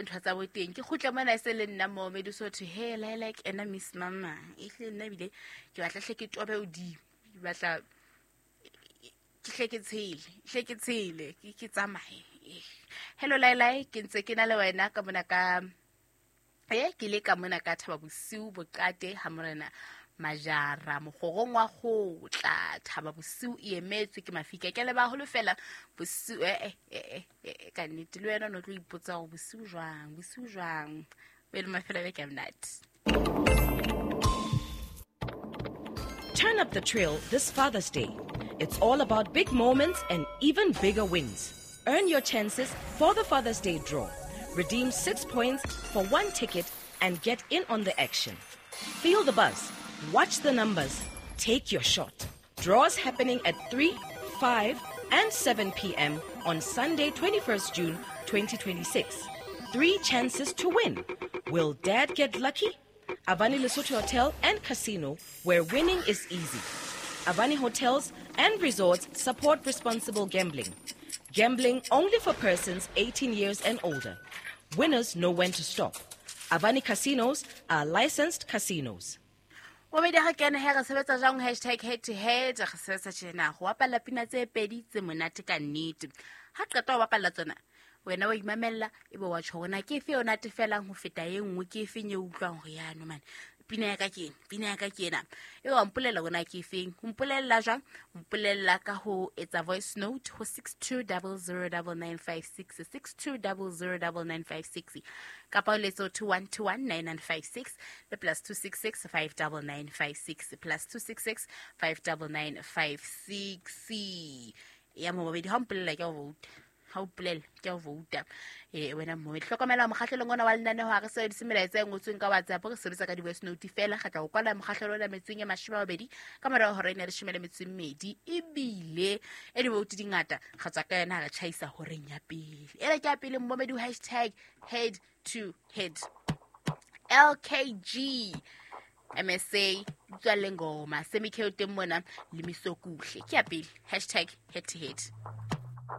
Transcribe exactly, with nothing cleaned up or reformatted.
Ntho tsa boteng ke kgutle mona e se le nna mo Medisotho he like like ena Miss Mama ehlile nna ebile ke batla hle ke tobe hodimo, ke batla ke hle ke tshele, hle ke tshele, ke ke tsamaye. Hello Lailai, ke ntse ke na le wena ka mona ka eh ke le ka mona ka Thaba Bosiu Boqate ha morena Majara mokgorong wa kgotla. Thaba Bosiu e emetswe ke mafika ke le baholo fela bosiu eh eh eh ka nnete le wena o no tlo ipotsa hore bosiu jwang, bosiu jwang. Be le mafelo a beke a monate. Turn up the trail this Father's Day. It's all about big moments and even bigger wins. Earn your chances for the Father's Day draw. Redeem six points for one ticket and get in on the action. Feel the buzz. Watch the numbers. Take your shot. Draws happening at three, five, and seven p.m. on Sunday, twenty-first June, twenty twenty-six. Three chances to win. Will Dad get lucky? Avani Lesotho Hotel and Casino, where winning is easy. Avani Hotels and Resorts support responsible gambling. Gambling only for persons eighteen years and older. Winners know when to stop. Avani Casinos are licensed casinos. Bobedi ha kene he re sebetsa jwang hashtag head to head, re sebetsa tjena ho bapalla pina tse pedi tse monate ka nnete. Ha qeta ho bapalla tsona, wena wa imamella ebe wa tjho hore na ke efe yona tefelang ho feta e nngwe, ke efe e utlwang hore ya no man pina ya ka ke ena, pina ya ka ke ena. Ebe wa mpolella hore na ke efeng. O mpolella jwang? O mpolella ka ho etsa voice note ho six two double zero double nine five six, six two double zero double nine five six, kapa o letse ho two one two one nine nine five six le plus two six six five double nine five six, plus two six six five double nine five six. Ya mobedi ha o mpolella ke o vote. Ha o polele ke o vouta. Eh wena mmomedi hlokomela mokgahlelong ona wa lenaneo ha re sebedise melaetsa e ngotsweng ka WhatsApp, re sebetsa ka di-voice note fela. Re tla o kwala mokgahlelo ona metsong e mashome a mabedi ka morao hora ena ya leshome le metso e mmedi, ebile e di-vote di ngata re tswa ka yona ha re tjhaisa horeng ya pele. Ena ke ya pele mmomedi hashtag head to head. L K G M S A utlwa le ngoma Semi K o teng mona le Misokuhle. Ke ya pele hashtag head to head.